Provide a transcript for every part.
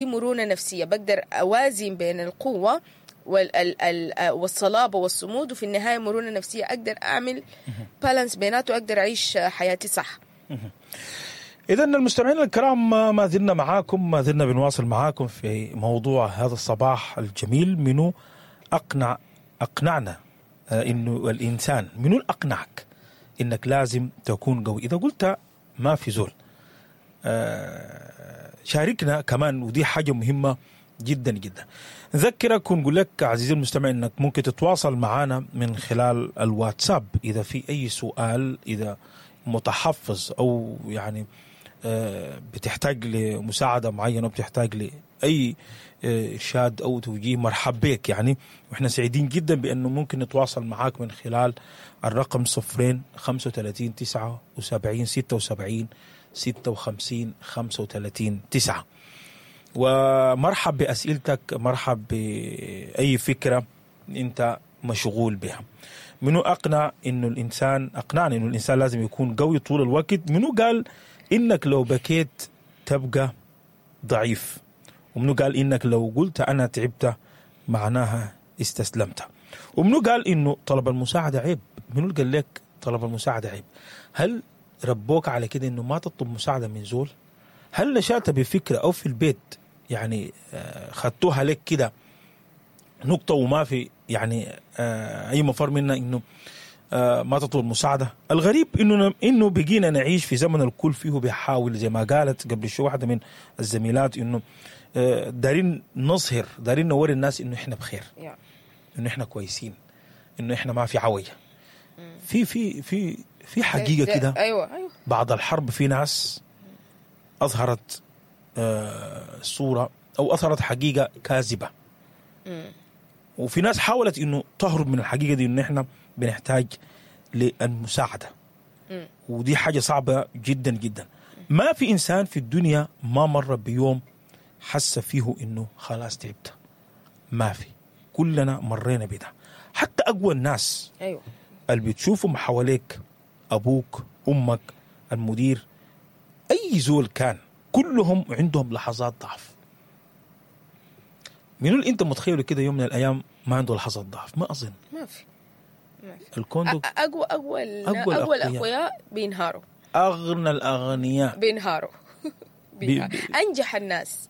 مرونة نفسية، بقدر أوازن بين القوة والصلابة والصمود، وفي النهاية مرونة نفسية أقدر أعمل balance بيناته وأقدر أعيش حياتي صح. إذا المستمعين الكرام، ما زلنا معاكم، ما زلنا بنواصل معاكم في موضوع هذا الصباح الجميل: منو أقنعنا إنه الإنسان، منو أقنعك إنك لازم تكون قوي؟ إذا قلت ما في زول، شاركنا كمان، ودي حاجة مهمة جدا جدا. نذكرك ونقول لك عزيزي المستمع انك ممكن تتواصل معنا من خلال الواتساب اذا في اي سؤال، اذا متحفظ او يعني بتحتاج لمساعده معينة، وبتحتاج لاي ارشاد او توجيه، مرحب بك يعني. واحنا سعيدين جدا بانه ممكن نتواصل معاك من خلال الرقم 0 35 79 76 56 35 9. ومرحب بأسئلتك، مرحب بأي فكرة أنت مشغول بها. منو أقنع إنه الإنسان، أقنعني إنه الإنسان لازم يكون قوي طول الوقت؟ منو قال إنك لو بكيت تبقى ضعيف؟ ومنو قال إنك لو قلت أنا تعبت معناها استسلمت؟ ومنو قال إنه طلب المساعدة عيب؟ منو قال لك طلب المساعدة عيب؟ هل ربوك على كده إنه ما تطلب مساعدة من زول؟ هل نشأت بفكرة أو في البيت يعني خدتوها لك كده نقطة وما في يعني أي مفر منها إنه ما تطلب مساعدة؟ الغريب إنه بقينا نعيش في زمن الكل فيه بيحاول، زي ما قالت قبل شوي واحدة من الزميلات، إنه دارين نظهر، دارين نوري الناس إنه إحنا بخير، إنه إحنا كويسين، إنه إحنا ما في عوجة. في في في في حقيقة كده. أيوة. بعد الحرب في ناس أظهرت صورة أو أظهرت حقيقة كاذبة، وفي ناس حاولت إنه تهرب من الحقيقة دي، إنه إحنا بنحتاج للمساعدة، ودي حاجة صعبة جدا جدا. ما في إنسان في الدنيا ما مر بيوم حس فيه إنه خلاص تعبت، ما في، كلنا مرينا بده، حتى أقوى الناس. اللي بتشوفهم حواليك، أبوك، أمك، المدير، أي زول كان، كلهم عندهم لحظات ضعف. منو اللي انت متخيله كده يوم من الايام ما عنده لحظات ضعف؟ ما اظن. ما في، ما في. الكوندو اقوى أقوى اقوى الأقوياء. الاقوياء بينهاروا. اغنى الاغنياء بينهاروا، بينهاروا. انجح الناس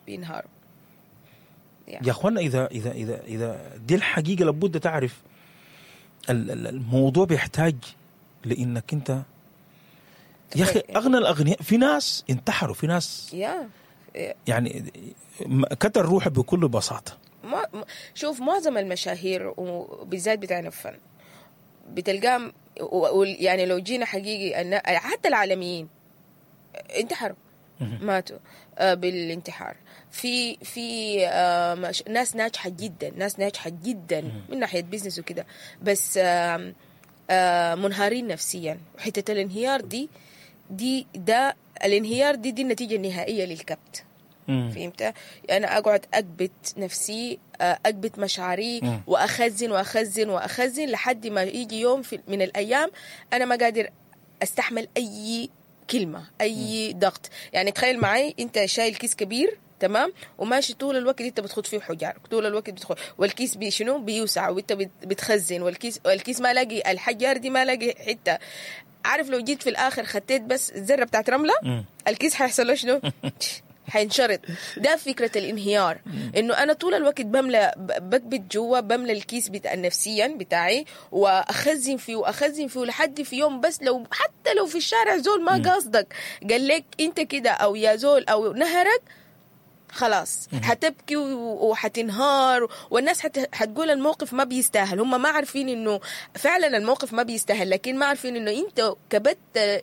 بينهاروا. يا اخوانا، اذا دي الحقيقه، لابد تعرف الموضوع بيحتاج لانك انت يا اخي اغنى الاغنياء، في ناس انتحروا، في ناس يعني كتل روحه بكل بساطه. ما شوف، معظم المشاهير وبالذات بتاعنا الفن بتلقاهم يعني لو جينا حقيقي أن حتى العالميين انتحروا، ماتوا بالانتحار. في ناس ناجحة جدا، ناس ناجحة جدا من ناحية business وكده، بس آم، آه، منهارين نفسيا. وحتة الانهيار دي ده الانهيار دي النتيجة النهائية للكبت. فهمت؟ انا اقعد اكبت نفسي، اكبت مشاعري، واخزن واخزن واخزن لحد ما يجي يوم من الايام انا ما قادر استحمل اي كلمه، اي ضغط. يعني تخيل معي انت شايل كيس كبير، تمام، وماشي طول الوقت انت بتخط فيه حجار، طول الوقت بتدخل، والكيس بي شنو؟ بيوسع، وانت بتخزن، والكيس ما لاقي الحجار دي، ما لاقي حته. عارف لو جيت في الاخر خطيت بس ذره بتاعت رمله، الكيس حيحصل له شنو؟ حينشرط. ده فكرة الانهيار، انه انا طول الوقت بملى، بكبت جوا، بملى الكيس بتاع نفسيا بتاعي واخزن فيه واخزن فيه لحد في يوم، بس لو حتى لو في الشارع زول ما قصدك قال لك انت كده او يا زول او نهرك، خلاص حتبكي وحتنهار، والناس حتقول الموقف ما بيستاهل. هم ما عارفين انه فعلا الموقف ما بيستاهل، لكن ما عارفين انه انت كبت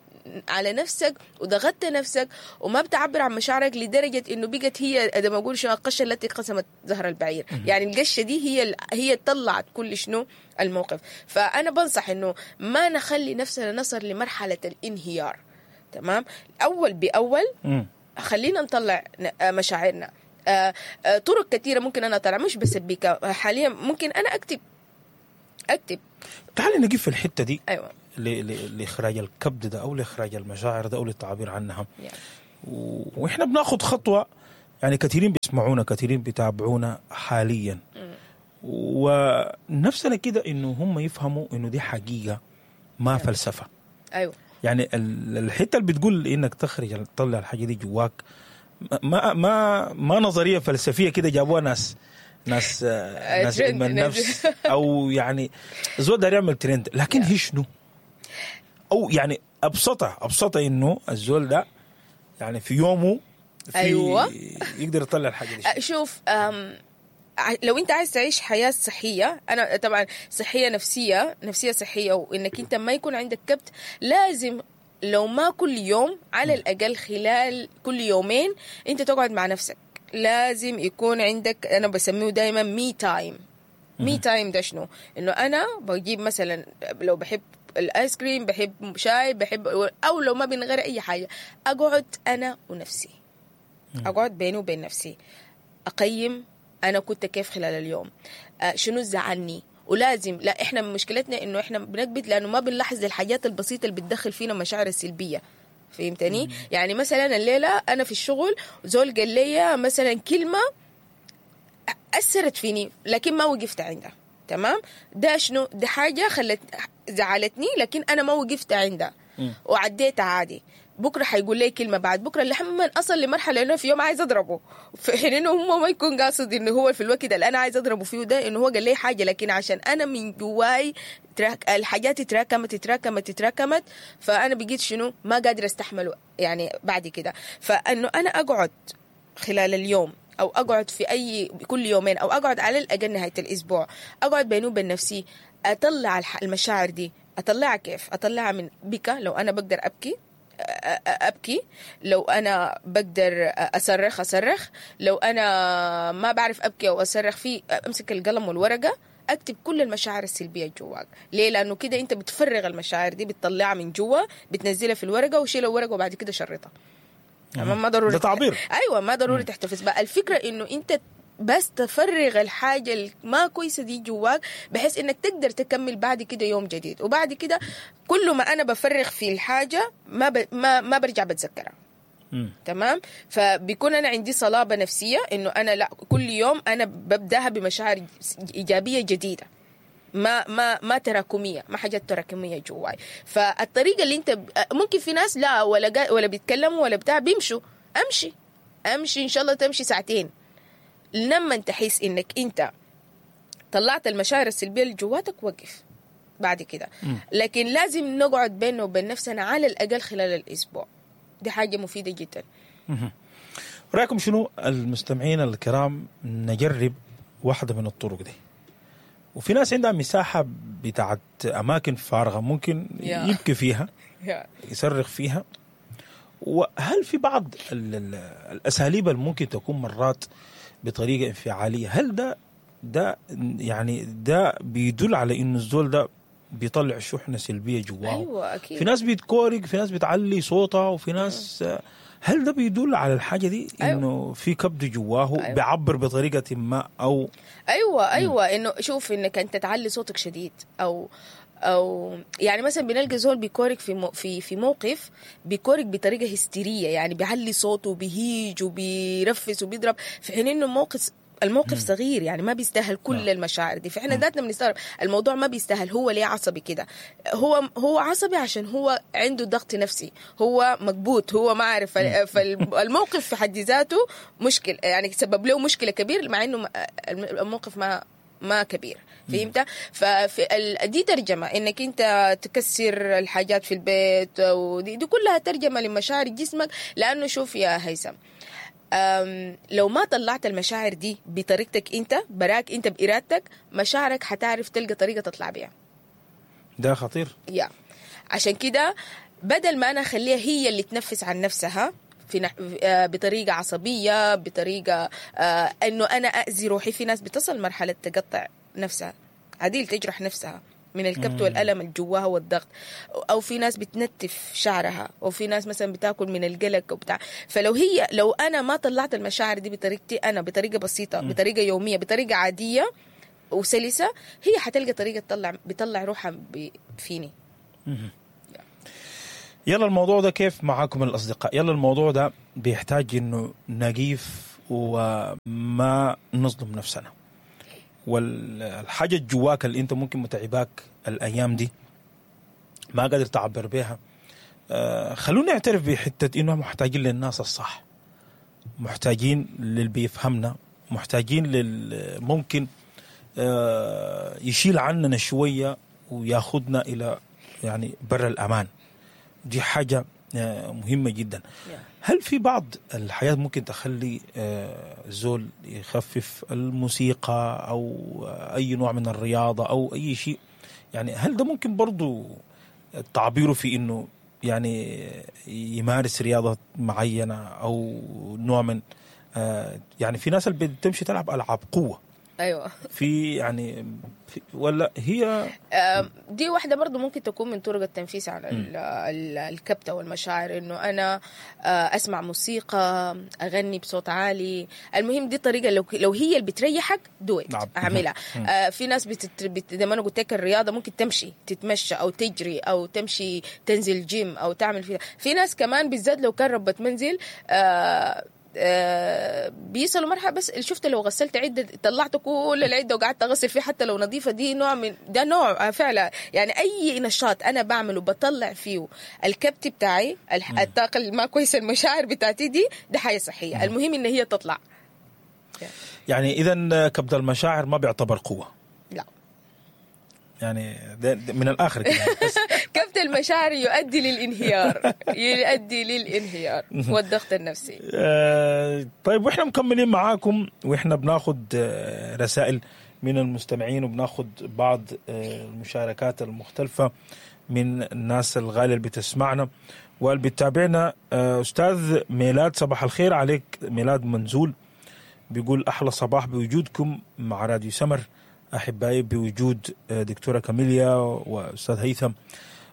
على نفسك وضغطت نفسك وما بتعبر عن مشاعرك لدرجة انه بقت هي زي ما اقول شنو، القشة التي قسمت ظهر البعير. يعني القشة دي هي طلعت كل شنو الموقف. فانا بنصح انه ما نخلي نفسنا نصل لمرحلة الانهيار، تمام؟ اول باول خلينا نطلع مشاعرنا. طرق كثيرة ممكن أنا أطلع، مش بس البكاء حاليا، ممكن أنا أكتب أكتب. تعالي نقف في الحتة دي. لاخراج الكبت ده او لاخراج المشاعر ده او للتعبير عنها. واحنا بناخد خطوة. يعني كثيرين بيسمعونا، كثيرين بيتابعونا حاليا، ونفسنا كده انه هم يفهموا انه دي حقيقة ما فلسفة. ايوه، يعني الحتة اللي بتقول انك تخرج تطلع الحاجة دي جواك ما ما ما نظرية فلسفية كده جابوها ناس ناس ناس علم النفس، او يعني زول داير يعمل ترند، لكن هي شنو؟ او يعني ابسطها انه الزول ده يعني في يومه في أيوة. يقدر يطلع الحاجة دي. شوف، لو انت عايز تعيش حياة صحية، انا طبعا صحية نفسية، نفسية صحية، وانك انت ما يكون عندك كبت، لازم لو ما كل يوم على الاقل خلال كل يومين انت تقعد مع نفسك. لازم يكون عندك، انا بسميه دايما me time. me time ده شنو؟ انه انا بجيب مثلا لو بحب الايس كريم، بحب شاي، بحب، او لو ما من غير اي حاجة، اقعد انا ونفسي، اقعد بيني وبين نفسي، اقيم انا كنت كيف خلال اليوم، شنو زعلني. ولازم، لا احنا مشكلتنا انه احنا بنكبت لانه ما بنلاحظ الحاجات البسيطة اللي بتدخل فينا مشاعر السلبية. فهمتني؟ يعني مثلا الليلة انا في الشغل زول قال لي مثلا كلمة اثرت فيني، لكن ما وقفت عندها. تمام؟ ده شنو؟ ده حاجة خلت زعلتني، لكن انا ما وقفت عندها وعديتها عادي. بكره حيقول لي كلمة، بعد بكره لما اصل لمرحلة انه في يوم عايز اضربه، في حين انه هو ما يكون قاصد انه هو في الوقت اللي انا عايز اضربه فيه ده انه هو قال لي حاجة، لكن عشان انا من جواي الحاجات تراكمت تراكمت تراكمت، فانا بقيت شنو ما قادرة استحمله يعني بعد كده. فانه انا اقعد خلال اليوم، او اقعد في اي كل يومين، او اقعد على الاقل نهاية الاسبوع، اقعد بيني وبين نفسي، اطلع المشاعر دي. اطلعها كيف؟ اطلعها من بكى، لو انا بقدر ابكي ابكي، لو انا بقدر اصرخ اصرخ، لو انا ما بعرف ابكي او اصرخ، في امسك القلم والورقة اكتب كل المشاعر السلبية جواك. ليه؟ لانه كده انت بتفرغ المشاعر دي، بتطلعها من جوا، بتنزلها في الورقة، وشيل الورقة وبعد كده شرطها. ما ضروري ده تعبير. ايوه، ما ضروري تحتفظ بقى. الفكرة انه انت بس تفرغ الحاجة ما كويسة دي جواك، بحيث انك تقدر تكمل بعد كده يوم جديد. وبعد كده كل ما انا بفرغ في الحاجة ما ما برجع بتذكرها. تمام؟ فبيكون انا عندي صلابة نفسية انه انا لا، كل يوم انا ببداها بمشاعر ايجابية جديدة، ما ما ما تراكمية، ما حاجات تراكمية جواي. فالطريقه اللي انت ممكن في ناس لا ولا بيتكلموا ولا بتاع، بيمشوا، امشي امشي ان شاء الله تمشي ساعتين، لما تحس انك انت طلعت المشاعر السلبية اللي جواتك وقف بعد كده. لكن لازم نقعد بيننا وبين نفسنا على الاقل خلال الاسبوع، دي حاجة مفيدة جدا. رايكم شنو المستمعين الكرام نجرب واحدة من الطرق دي؟ وفي ناس عندها مساحة بتاعت اماكن فارغة ممكن يبكي فيها، يصرخ فيها. وهل في بعض الاساليب اللي ممكن تكون مرات بطريقة انفعاليه، هل ده يعني ده بيدل على انه الزول ده بيطلع شحنه سلبية جواه؟ ايوه اكيد. في ناس بتكورك، في ناس بتعلي صوتها، وفي ناس هل ده بيدل على الحاجة دي؟ أيوة. انه في كبد جواه. أيوة. بيعبر بطريقة ما او ايوه انه شوف انك انت تعلي صوتك شديد، او يعني مثلا بنلقى زول بيكورك في في موقف، بيكورك بطريقة هستيريه، يعني بيعلي صوته وبيهيج وبيرفس وبيضرب، في حين انه الموقف صغير، يعني ما بيستاهل كل المشاعر دي. فاحنا ذاتنا بنستغرب الموضوع ما بيستاهل، هو ليه عصبي كده؟ هو عصبي عشان هو عنده ضغط نفسي، هو مكبوت، هو ما عارف. فالموقف في حد ذاته مشكل، يعني سبب له مشكلة كبير، مع انه الموقف ما كبير. فهمت؟ ففي دي ترجمة انك انت تكسر الحاجات في البيت، ودي دي كلها ترجمة لمشاعر جسمك. لانه شوف يا هيثم، لو ما طلعت المشاعر دي بطريقتك انت براك، انت بارادتك، مشاعرك حتعرف تلقى طريقة تطلع بيها. ده خطير. يا عشان كده بدل ما انا اخليها هي اللي تنفس عن نفسها في بطريقة عصبية، بطريقة انه انا اذي روحي. في ناس بتصل مرحلة تقطع نفسها عديل، تجرح نفسها من الكبت والألم اللي جواها والضغط، او في ناس بتنتف شعرها، او في ناس مثلا بتاكل من القلق وبتاع. فلو هي لو انا ما طلعت المشاعر دي بطريقتي انا، بطريقة بسيطة، بطريقة يومية، بطريقة عادية وسلسه، هي حتلقى طريقه تطلع، بتطلع روحها فيني. يلا الموضوع ده كيف معاكم الأصدقاء؟ يلا الموضوع ده بيحتاج إنه نقيف وما نظلم نفسنا. والحاجة الجواك اللي انت ممكن متعباك الايام دي ما قادر تعبر بيها، خلونا نعترف بحته انه محتاجين للناس الصح، محتاجين للي بيفهمنا، محتاجين لل ممكن يشيل عننا شوية وياخدنا الى يعني بر الامان. دي حاجة مهمة جدا. هل في بعض الحياة ممكن تخلي زول يخفف الموسيقى او اي نوع من الرياضة او اي شيء؟ يعني هل ده ممكن برضو تعبيره في انه يعني يمارس رياضة معينة او نوع من يعني في ناس اللي بتمشي تلعب العاب قوة، ايوه، في يعني في ولا هي دي واحدة برضو ممكن تكون من طرق التنفيس على الكبتة والمشاعر، انه انا اسمع موسيقى، اغني بصوت عالي. المهم دي طريقة لو هي اللي بتريحك do it، اعملها. في ناس زي ما انا قلت لك الرياضة ممكن تمشي تتمشى او تجري او تمشي تنزل جيم او تعمل فيها. في ناس كمان بالذات لو كان ربة منزل بيصلوا مرحلة بس شفت لو غسلت عده، طلعت كل العدة وقعدت اغسل فيه حتى لو نظيفة، دي نوع من ده نوع فعلا. يعني اي نشاط انا بعمله بطلع فيه الكبت بتاعي، الطاقة اللي ما كويسة، المشاعر بتاعتي دي، ده حاجة صحية. المهم ان هي تطلع. يعني اذا كبد المشاعر ما بيعتبر قوة؟ لا، يعني ده من الاخر كده. كبت المشاعر يؤدي للانهيار، يؤدي للانهيار والضغط النفسي. طيب، واحنا مكملين معاكم، واحنا بناخد رسائل من المستمعين وبناخد بعض المشاركات المختلفة من الناس الغالية اللي بتسمعنا واللي بتتابعنا. استاذ ميلاد، صباح الخير عليك. ميلاد منزول بيقول احلى صباح بوجودكم مع راديو سمر احبائي، بوجود دكتورة كاميليا واستاذ هيثم.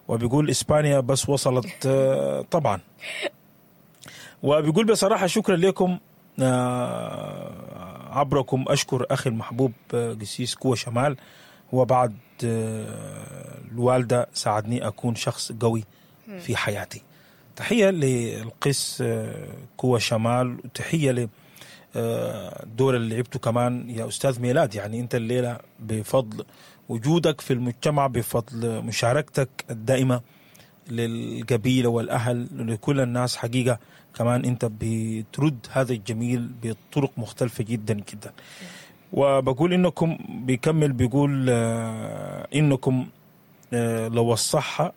وبيقول اسبانيا بس وصلت طبعا. وبيقول بصراحة شكرا لكم، عبركم اشكر اخي المحبوب قسيس كوة شمال، وبعد الوالدة ساعدني اكون شخص قوي في حياتي. تحية للقس كوة شمال، وتحية ل الدور اللي لعبته كمان يا أستاذ ميلاد. يعني أنت الليلة بفضل وجودك في المجتمع، بفضل مشاركتك الدائمة للقبيلة والأهل لكل الناس، حقيقة كمان أنت بترد هذا الجميل بطرق مختلفة جدا جدا. وبقول إنكم، بيكمل بيقول إنكم لو الصحة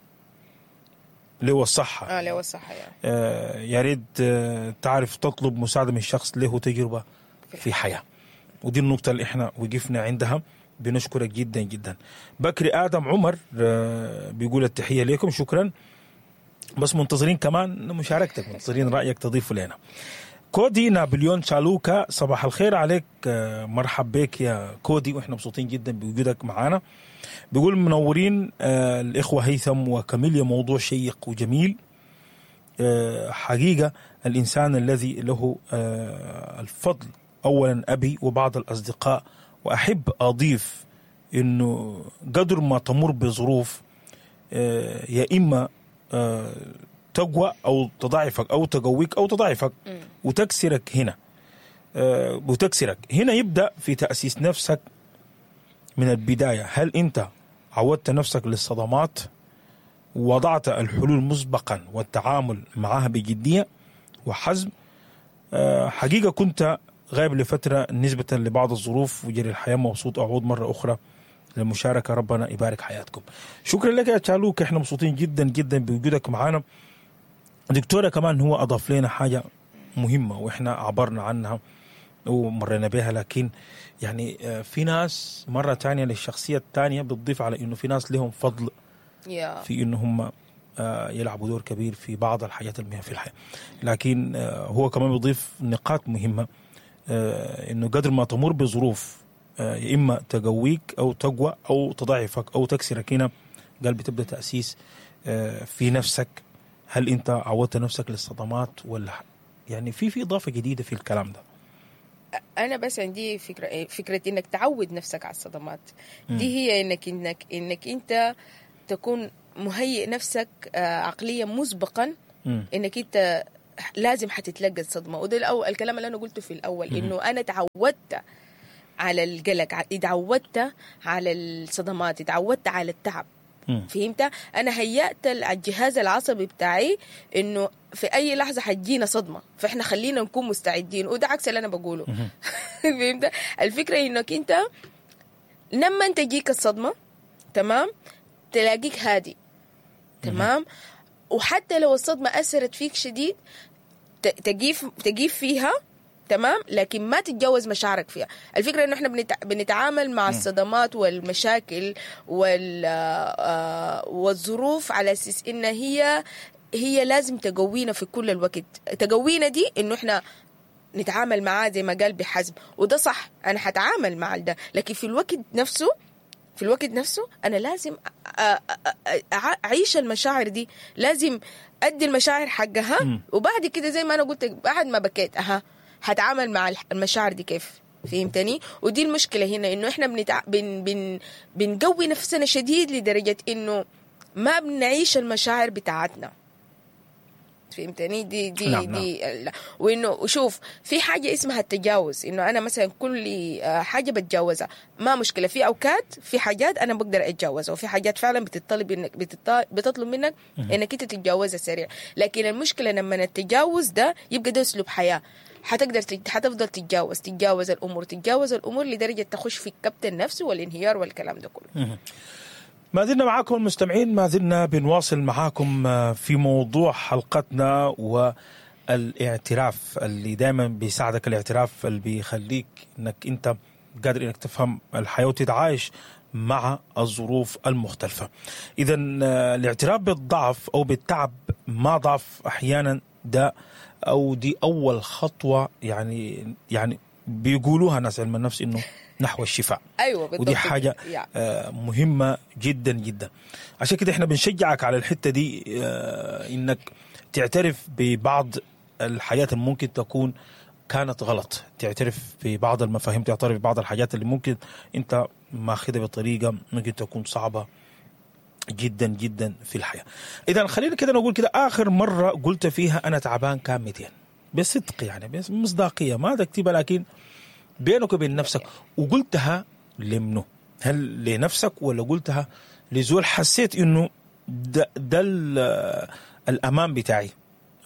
لو الصحة لو الصحة يعني. يا ريت تعرف تطلب مساعدة من شخص له تجربة في حياة. ودي النقطة اللي احنا وقفنا عندها. بنشكرك جدا جدا. بكري آدم عمر بيقول التحية لكم، شكرا، بس منتظرين كمان مشاركتك، منتظرين رأيك تضيفه لنا. كودي نابليون شالوكا، صباح الخير عليك، مرحب بك يا كودي، واحنا مبسوطين جدا بوجودك معانا. بيقول منورين الإخوة هيثم وكاميليا، موضوع شيق وجميل. حقيقة الإنسان الذي له الفضل أولا أبي وبعض الأصدقاء، وأحب أضيف إنه قدر ما تمر بظروف يا إما تقوى أو تضعفك أو تقويك أو تضعفك وتكسرك هنا، وتكسرك هنا. يبدأ في تأسيس نفسك من البداية. هل أنت عودت نفسك للصدمات ووضعت الحلول مسبقا والتعامل معها بجدية وحزم؟ حقيقة كنت غايب لفترة نسبة لبعض الظروف وجري الحياة، مبسوط أعود مرة أخرى للمشاركة، ربنا يبارك حياتكم. شكرا لك يا تشالوك، احنا مبسوطين جدا جدا بوجودك معنا. دكتورة كمان هو أضاف لنا حاجة مهمة وإحنا عبرنا عنها ومرينا بها، لكن يعني في ناس مرة تانية للشخصية التانية بتضيف على إنه في ناس لهم فضل في إنه هم يلعبوا دور كبير في بعض الحاجات المهمة في الحياة، لكن هو كمان بيضيف نقاط مهمة، إنه قدر ما تمر بظروف يا إما تقويك أو تقوى أو تضعفك أو تكسرك، هنا قال بتبدأ تأسيس في نفسك. هل أنت عودت نفسك للصدمات ولا يعني في إضافة جديدة في الكلام ده؟ أنا بس عندي فكرة إنك تعود نفسك على الصدمات دي، هي إنك إنك إنك أنت تكون مهيئ نفسك عقليا مسبقا إنك أنت لازم حتتلقى الصدمة. وده الأول الكلام اللي انا قلته في الاول، انه انا تعودت على القلق، اتعودت على الصدمات، اتعودت على التعب. فهمت؟ انا هيأت الجهاز العصبي بتاعي انه في اي لحظة حتجينا صدمة، فاحنا خلينا نكون مستعدين، وده عكس اللي انا بقوله. فهمت؟ الفكرة انك انت لما تجيك الصدمة، تمام، تلاقيك هادي، تمام، وحتى لو الصدمة اثرت فيك شديد تجيف فيها، تمام، لكن ما تتجاوز مشاعرك فيها. الفكرة انه احنا بنتعامل مع الصدمات والمشاكل والظروف على اساس ان هي لازم تقوينا في كل الوقت. تقوينا دي انه احنا نتعامل معاه زي ما قال بحزم، وده صح، انا حتعامل مع ده، لكن في الوقت نفسه انا لازم اعيش المشاعر دي، لازم ادي المشاعر حقها. وبعد كده زي ما انا قلت، بعد ما بكيت هتعامل مع المشاعر دي كيف. فهمتني؟ ودي المشكلة هنا، انه احنا بنقوي نفسنا شديد لدرجة انه ما بنعيش المشاعر بتاعتنا. فهمتني؟ دي دي نعم. دي لا. وانه شوف، في حاجة اسمها التجاوز، انه انا مثلا كل حاجة بتجاوزها ما مشكلة. في اوقات في حاجات انا بقدر اتجاوزها، وفي حاجات فعلا بتطلب انك بتطلب منك انك انت تتجاوزها سريع. لكن المشكلة لما التجاوز ده يبقى ده اسلوب حياة، حتقدر حتفضل تتجاوز الامور لدرجة تخش في الكبت النفسي والانهيار والكلام ده كله. ما زلنا معاكم المستمعين، ما زلنا بنواصل معاكم في موضوع حلقتنا والاعتراف اللي دائما بيساعدك، الاعتراف اللي بيخليك انك انت قادر انك تفهم الحياة وتتعايش مع الظروف المختلفة. اذا الاعتراف بالضعف او بالتعب ما ضعف احيانا، ده او دي اول خطوة يعني بيقولوها ناس علم النفس انه نحو الشفاء. ايوه بالضبط، ودي حاجة مهمة جدا جدا. عشان كده احنا بنشجعك على الحتة دي، انك تعترف ببعض الحاجات اللي ممكن تكون كانت غلط، تعترف ببعض المفاهيم، تعترف ببعض الحاجات اللي ممكن انت ماخذها بطريقة ممكن تكون صعبة جدا جدا في الحياة. اذا خلينا كده نقول كده، اخر مرة قلت فيها انا تعبان كان 200 بصدق، يعني بمصداقيه، ما تكتبها لكن بينك وبين نفسك، وقلتها لمنه؟ هل لنفسك ولا قلتها لزول حسيت انه ده الامان بتاعي،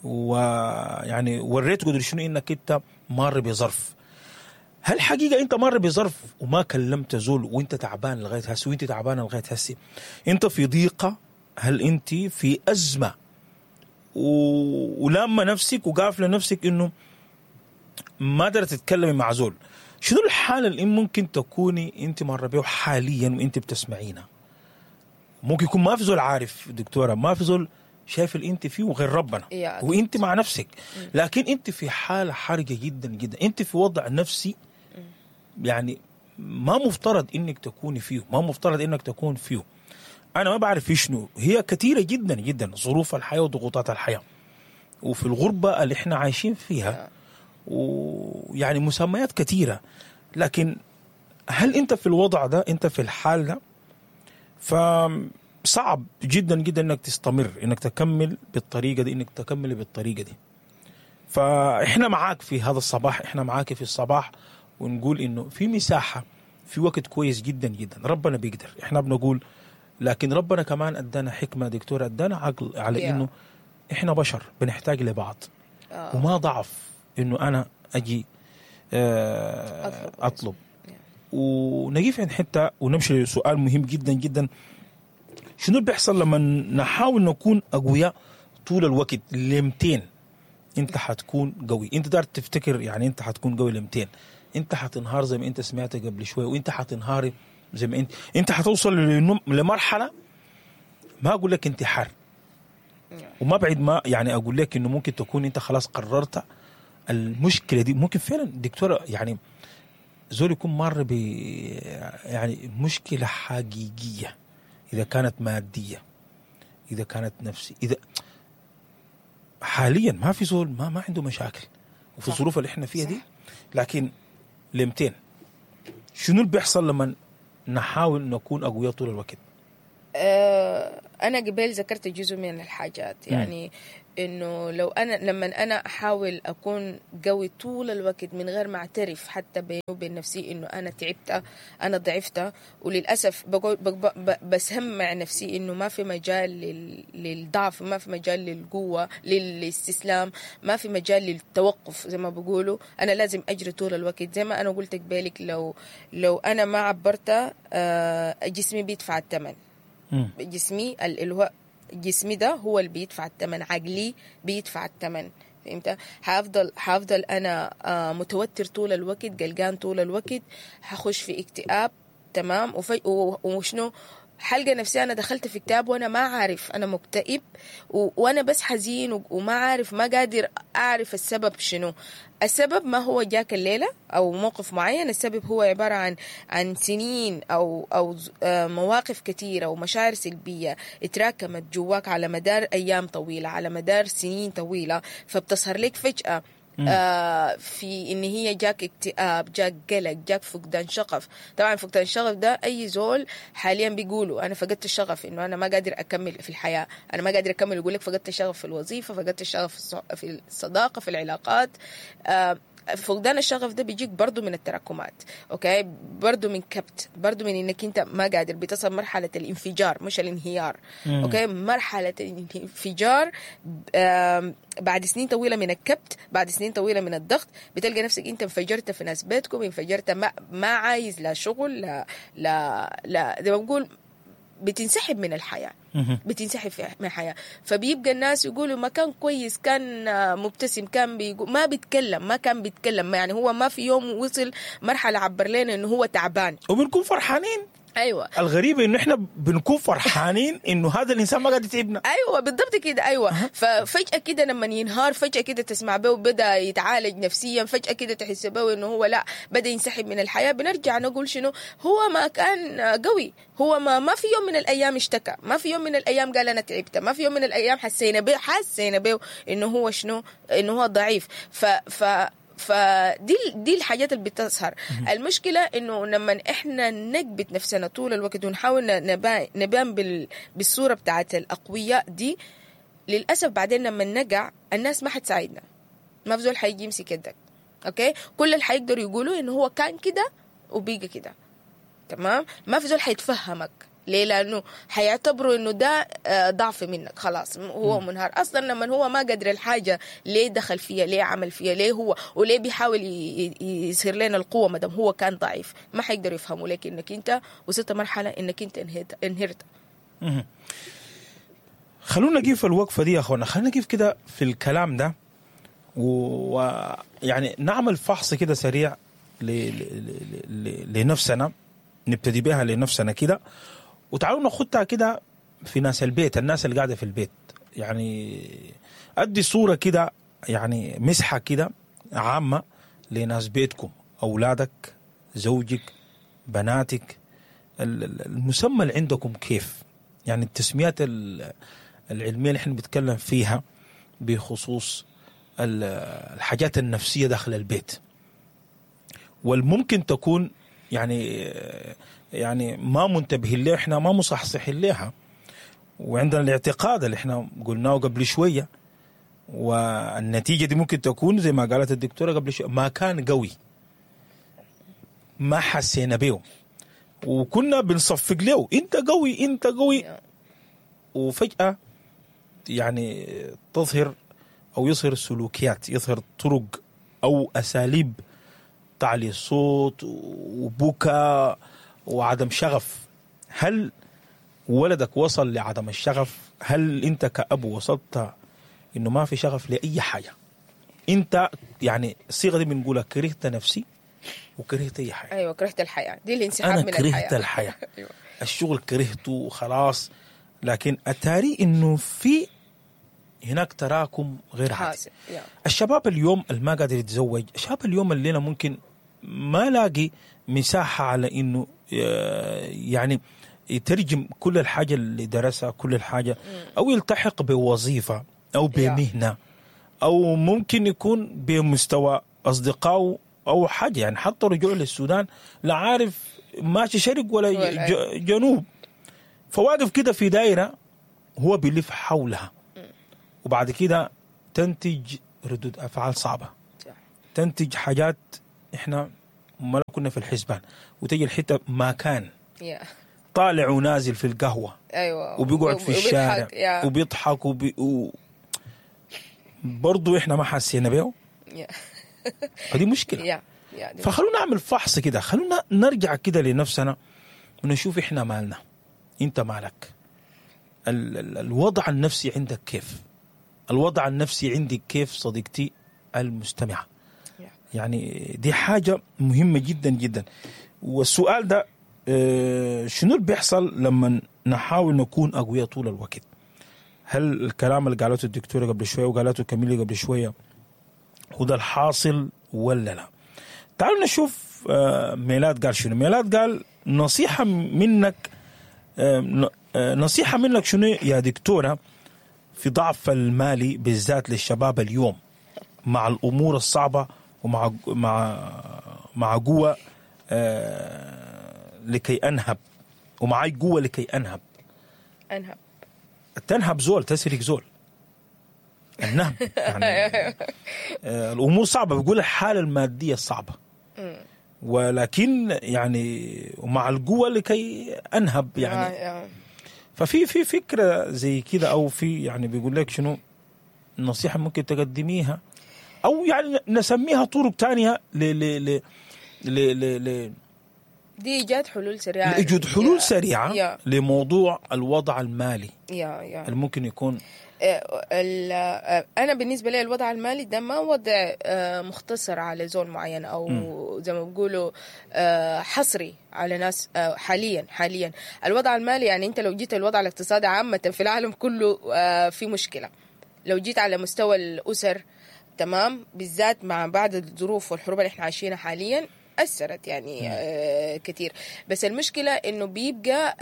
ويعني وريت قدر شنو انك انت مار بظرف؟ هل حقيقة انت مار بظرف وما كلمت زول وانت تعبان لغاية هسه، وانت تعبانة لغاية هسه، انت في ضيقه، هل انت في ازمة ولما نفسك وقافله نفسك انه ما قدرت تتكلمي مع زول؟ شنو الحالة اللي ممكن تكوني انت ماره بيه حاليا وانت بتسمعينا؟ ممكن يكون ما في زول عارف دكتورة، ما في زول شايف اللي انت فيه غير ربنا، وانت مع نفسك، لكن انت في حاله حرجه جدا جدا، انت في وضع نفسي يعني ما مفترض انك تكوني فيه، ما مفترض انك تكون فيه. انا ما بعرف في شنو، هي كثيرة جدا جدا ظروف الحياة وضغوطات الحياة، وفي الغربة اللي احنا عايشين فيها، ويعني مسميات كثيرة. لكن هل انت في الوضع ده، انت في الحال ده؟ فصعب جدا جدا انك تستمر، انك تكمل بالطريقة دي، انك تكمل بالطريقة دي. فاحنا معاك في هذا الصباح، احنا معاك في الصباح، ونقول انه في مساحة، في وقت كويس جدا جدا، ربنا بيقدر، احنا بنقول، لكن ربنا كمان ادانا حكمه دكتورة، ادانا عقل على انه احنا بشر بنحتاج لبعض، وما ضعف انه انا اجي اطلب. ونقف عند حتة ونمشي لسؤال مهم جدا جدا، شنو اللي بيحصل لما نحاول نكون اقوياء طول الوقت؟ لمتين انت حتكون قوي؟ انت دار تفتكر يعني انت حتكون قوي لمتين؟ انت حتنهار زي ما انت سمعت قبل شوية، وانت حتنهاري زي ما انت حتوصل لمرحلة، ما اقول لك انتحار، وما بعد ما يعني اقول لك انه ممكن تكون انت خلاص قررت المشكلة دي. ممكن فعلا دكتورة يعني زول يكون مر ب يعني مشكلة حقيقية، اذا كانت مادية، اذا كانت نفسي، اذا حاليا ما في زول ما عنده مشاكل وفي الظروف اللي احنا فيها دي، لكن لمتين شنو اللي بيحصل لما نحاول نكون اقوياء طول الوقت؟ انا قبل ذكرت جزء من الحاجات، يعني انه لو انا لما انا احاول اكون قوي طول الوقت من غير ما اعترف حتى بيني وبين نفسي انه انا تعبت، انا ضعفت، وللاسف بقول بسمع نفسي انه ما في مجال للضعف، ما في مجال للقوة، للاستسلام، ما في مجال للتوقف. زي ما بقولوا انا لازم اجري طول الوقت. زي ما انا قلت قبالك، لو انا ما عبرت جسمي بيدفع الثمن. جسمي اللي هو جسمي ده هو اللي بيدفع الثمن، عقلي بيدفع الثمن. فهمت؟ حافضل انا متوتر طول الوقت، قلقان طول الوقت، حخش في اكتئاب. تمام. وشنو حلقة نفسي أنا دخلت في اكتئاب وأنا ما عارف أنا مكتئب، وأنا بس حزين وما عارف، ما قادر أعرف السبب شنو. السبب ما هو جاك الليلة أو موقف معين، السبب هو عبارة عن سنين أو مواقف كثيرة ومشاعر سلبية اتراكمت جواك على مدار أيام طويلة، على مدار سنين طويلة، فبتظهر لك فجأة في إن هي جاك اكتئاب، جاك قلق، جاك فقدان شغف. طبعا فقدان الشغف ده أي زول حاليا بيقولوا أنا فقدت الشغف، إنه أنا ما قادر أكمل في الحياة، أنا ما قادر أكمل. يقول لك فقدت الشغف في الوظيفة، فقدت الشغف في الصداقة، في العلاقات. فقدان الشغف ده بيجيك برضو من التراكمات، okay، برضو من كبت، برضو من انك انت ما قادر، بتصل مرحلة الانفجار مش الانهيار. okay، مرحلة الانفجار بعد سنين طويلة من الكبت، بعد سنين طويلة من الضغط، بتلقى نفسك انت انفجرت في ناس بيتكم، انفجرت ما عايز لا شغل لا لا لا، زي ما بقول بتنسحب من الحياة، بتنسحب من الحياة. فبيبقى الناس يقولوا ما كان كويس، كان مبتسم، كان بيقول ما بيتكلم، ما كان بيتكلم، يعني هو ما في يوم وصل مرحلة عبر لنا انه هو تعبان، وبنكون فرحانين. ايوه، الغريب انه احنا بنكون فرحانين انه هذا الانسان ما قاعد يتعبنا. ايوه بالضبط كده. ايوه. ففجاه كده لما ينهار، فجاة كده تسمع به بدا يتعالج نفسيا، فجاة كده تحس به انه هو لا بدا ينسحب من الحياة. بنرجع نقول شنو، هو ما كان قوي، هو ما في يوم من الايام اشتكى، ما في يوم من الايام قال انا تعبت، ما في يوم من الايام حسينا به انه هو شنو، انه هو ضعيف. ف فدي دي الحاجات اللي بتظهر. المشكلة انه لما احنا نكبت نفسنا طول الوقت ونحاول نبان بالصورة بتاعت الاقوياء دي، للاسف بعدين لما نقع الناس ما حتساعدنا، ما في زول حيجي يمسك يدك. okay، كل اللي حيقدروا يقولوا انه هو كان كده وبيجي كده. تمام، ما في زول حيتفهمك ليه، لانه حيعتبروا انه ده ضعف منك، خلاص هو منهار اصلا. لما هو ما قدر الحاجة ليه دخل فيها، ليه عمل فيها، ليه هو وليه بيحاول يصير لنا القوة ما دام هو كان ضعيف. ما حيقدروا يفهموا لك انك انت وصلت مرحلة انك انت انهرت. خلونا نقيف الوقفة دي يا اخوانا، خلونا نقيف كده في الكلام ده، ويعني نعمل فحص كده سريع لنفسنا، نبتدي بها لنفسنا كده، وتعالوا ناخدها كده في ناس البيت، الناس اللي قاعدة في البيت. يعني ادي صوره كده، يعني مسحه كده عامة لناس بيتكم، اولادك، زوجك، بناتك، المسمى اللي عندكم كيف، يعني التسميات العلمية اللي احنا بنتكلم فيها بخصوص الحاجات النفسية داخل البيت، والممكن تكون يعني ما منتبهين لها، احنا ما مصحصحين لها، وعندنا الاعتقاد اللي احنا قلناه قبل شوية، والنتيجة دي ممكن تكون زي ما قالت الدكتورة قبل شوية، ما كان قوي، ما حسينا به، وكنا بنصفق له انت قوي انت قوي، وفجاة يعني تظهر او يظهر سلوكيات، يظهر طرق او اساليب تعلي الصوت وبكاء وعدم شغف. هل ولدك وصل لعدم الشغف؟ هل انت كأب وصلت انه ما في شغف لأي حاجة؟ انت يعني الصيغة دي بنقولها، كرهت نفسي وكرهت اي حاجة. ايوه، كرهت الحياة، دي الانسحاب من الحياة. انا كرهت الحياة. أيوة. الشغل كرهته وخلاص. لكن اتاري انه في هناك تراكم غير عادي. الشباب اليوم اللي ما قادر يتزوج، الشباب اليوم اللي ممكن ما لاقي مساحة على إنه يعني يترجم كل الحاجة اللي درسها، كل الحاجة، أو يلتحق بوظيفة أو بمهنة، أو ممكن يكون بمستوى أصدقائه أو حاجة. يعني حتى رجوع للسودان لا عارف ماشي شرق ولا جنوب، فواقف كده في دايرة هو بيلف حولها، وبعد كده تنتج ردود افعال صعبة، تنتج حاجات احنا ما كنا في الحسبان، وتجي الحتة ما كان طالع ونازل في القهوة، ايوه، وبيقعد في الشارع وبيضحك برضو احنا ما حسينا بيه. فدي مشكلة. فخلونا نعمل فحص كده، خلونا نرجع كده لنفسنا ونشوف احنا مالنا، انت مالك، الوضع النفسي عندك كيف، الوضع النفسي عندك كيف صديقتي المستمعة. يعني دي حاجة مهمة جدا جدا. والسؤال ده شنو اللي بيحصل لما نحاول نكون أقوياء طول الوقت؟ هل الكلام اللي قالته الدكتورة قبل شوية وقالته كميلي قبل شوية هو ده الحاصل ولا لا؟ تعالوا نشوف ميلاد قال شنو. ميلاد قال نصيحة منك، نصيحة منك شنو يا دكتورة في ضعف المالي بالذات للشباب اليوم مع الأمور الصعبة ومع مع مع قوة لكي أنهب، ومعي قوة لكي أنهب. أنهب، تنهب زول، تسرق زول، النهب يعني. الأمور صعبة، بيقول الحالة المادية صعبة، ولكن يعني ومع القوة لكي أنهب يعني. ففي في فكرة زي كده، أو في يعني بيقول لك شنو نصيحة ممكن تقدميها، أو يعني نسميها طرق تانية ل ل ل ل ل دي إيجاد حلول سريعة، إيجاد حلول سريعة لموضوع الوضع المالي اللي ممكن يكون. أنا بالنسبة لي الوضع المالي ده ما وضع مختصر على زول معين، أو زي ما بيقولوا حصري على ناس. حاليا الوضع المالي يعني أنت لو جيت الوضع الاقتصادي عامة في العالم كله في مشكلة. لو جيت على مستوى الأسر، تمام، بالذات مع بعض الظروف والحروب اللي احنا عايشينها حاليا أثرت يعني كتير. بس المشكلة إنه بيبقى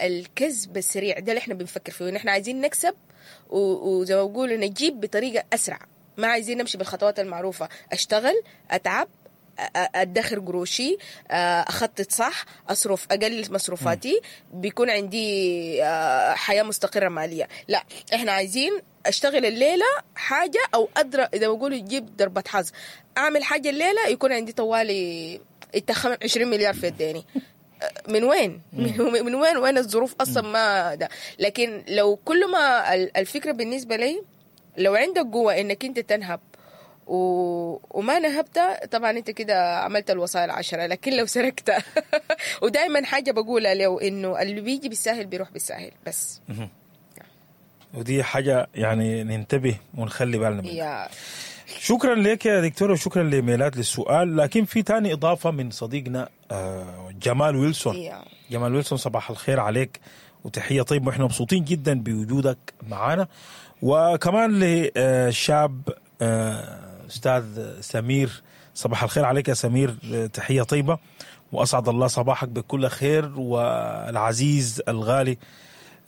الكذب السريع ده اللي إحنا بنفكر فيه، إن إحنا عايزين نكسب وزي ما بقولوا نجيب بطريقة أسرع، ما عايزين نمشي بالخطوات المعروفة. أشتغل، أتعب، أدخر قروشي، أخطط صح، أصرف أقلل مصروفاتي، بيكون عندي حياة مستقرة مالية. لا، إحنا عايزين أشتغل الليلة حاجة، أو أدرى إذا بقولوا يجيب ضربة حظ، أعمل حاجة الليلة يكون عندي طوالي 20 مليار في يديني. من وين؟ من وين؟ وين الظروف أصلا ما ده. لكن لو كل ما الفكرة بالنسبة لي، لو عندك قوة إنك أنت تنهب وما نهبت، طبعا انت كده عملت الوصايا 10. لكن لو سرقت ودائما حاجة بقولها لو انه اللي بيجي بالساهل بيروح بالساهل بس. ودي حاجة يعني ننتبه ونخلي بالنا منها. شكرا لك يا دكتورة، وشكرا لميلاد للسؤال. لكن في تاني اضافه من صديقنا جمال ويلسون. جمال ويلسون، صباح الخير عليك وتحية طيبة، واحنا مبسوطين جدا بوجودك معنا. وكمان لشاب أستاذ سمير، صباح الخير عليك يا سمير، تحية طيبة وأسعد الله صباحك بكل خير. والعزيز الغالي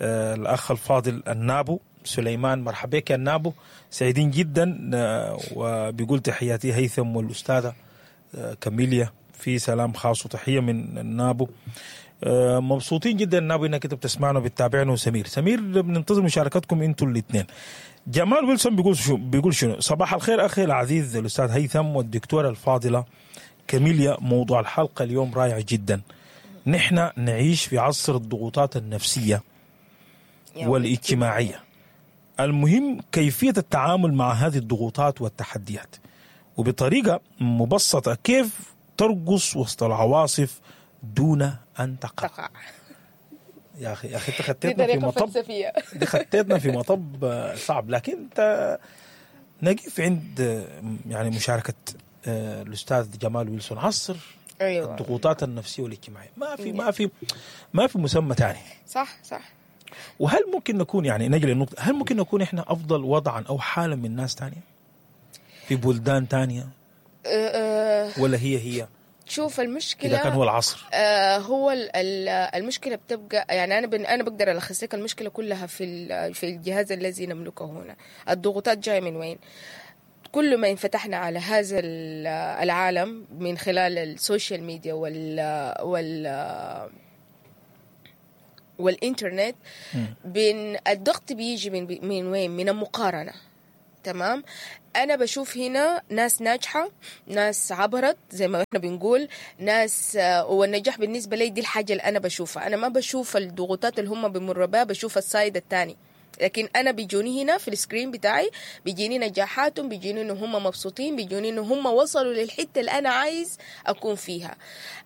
الأخ الفاضل النابو سليمان، مرحبا بك يا النابو، سعيدين جدا. وبيقول تحياتي هيثم والأستاذة كاميليا، في سلام خاص وتحية من النابو. مبسوطين جدا النابو انك انت بتسمعنا وبتتابعنا. وسمير، سمير بننتظر مشاركتكم انتوا الاثنين. جمال ويلسون بيقول شنو؟ صباح الخير أخي العزيز الأستاذ هيثم والدكتورة الفاضلة كاميليا، موضوع الحلقة اليوم رائع جدا. نحن نعيش في عصر الضغوطات النفسية والاجتماعية، المهم كيفية التعامل مع هذه الضغوطات والتحديات، وبطريقة مبسطة كيف ترقص وسط العواصف دون أن تقع. يا أخي، يا أخي أنت خطيتنا في مطب، دي خطيتنا في مطب صعب. لكن أنت نقف عند يعني مشاركة الأستاذ جمال ويلسون، عصر أيوة. الضغوطات النفسية والاجتماعية، ما في ما في ما في مسمى ثاني. صح صح. وهل ممكن نكون يعني نجي للنقطة، هل ممكن نكون إحنا أفضل وضعا أو حالا من ناس تانية في بلدان تانية؟ ولا هي شوف المشكلة إذا كان هو العصر هو المشكلة بتبقى يعني أنا بقدر ألخص لك المشكلة كلها في الجهاز الذي نملكه هنا. الضغوطات جاية من وين؟ كل ما انفتحنا على هذا العالم من خلال ال social media وال والإنترنت، بين الضغط بيجي من وين؟ من المقارنة. تمام؟ أنا بشوف هنا ناس ناجحة، ناس عبرت زي ما احنا بنقول، ناس، والنجاح بالنسبة لي دي الحاجة اللي أنا بشوفها. أنا ما بشوف الضغوطات اللي هم بيمروا بها، بشوف ال side الثاني. لكن أنا بيجوني هنا في ال screen بتاعي، بيجيني نجاحاتهم، بيجيني إنه هم مبسوطين، بيجوني إنه هم وصلوا للحتة اللي أنا عايز أكون فيها.